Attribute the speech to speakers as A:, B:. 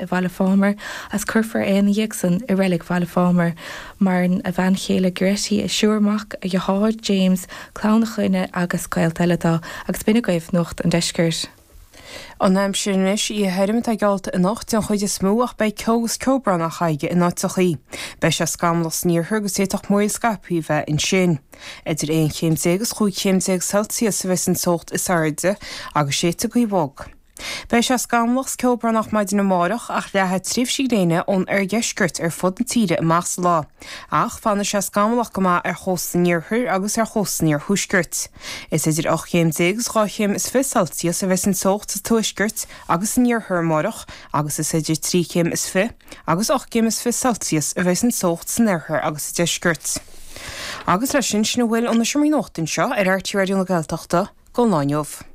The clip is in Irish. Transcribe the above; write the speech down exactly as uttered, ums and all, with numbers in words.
A: i Bhaile Phámar agus cuirfear é ina dhiaidh san i reilig Bhaile Phámar. Maireann a bhean chéile Goretti, a thriúr mac, a dheartháir James, clann a chlainne agus gaolta eile dó agus b'in agaibh Nuacht an Deiscirt.
B: An aimsir anois oíche thirim atá geallta anocht den chuid is mó ach beidh ceo agus ceobhrán chuige in áiteachaí. Beidh sé scamallach san iarthar agus d'fhéadfadh múraíl scaipthe a bheith ansin. Idir aon chéim déag agus chúig chéim déag Celsius a bheas an teocht is airde agus séidfidh gaoth bhog. Beidh sé scamallach is ceobhránach maidin amárach ach leathfaidh tréimhsí gréine ón oirdheisceart ar fud na tíre amach sa lá. Ach fanfaidh sé scamallach go maith ar chósta an iarthair agus ar chósta an iarthuaiscirt. Is idir ocht chéim déag agus dhá chéim is fiche Celsius a bheas an teocht sa tuaisceart agus san iarthar amárach agus is idir trí chéim is fiche agus ocht gcéim is fiche Celsius a bheas an teocht san oirthear agus sa deisceart. Agus leis sin sin a bhfuil ó na seomraí nuachta anseo ar RTÉ Raidió na Gaeltachta don lá inniu.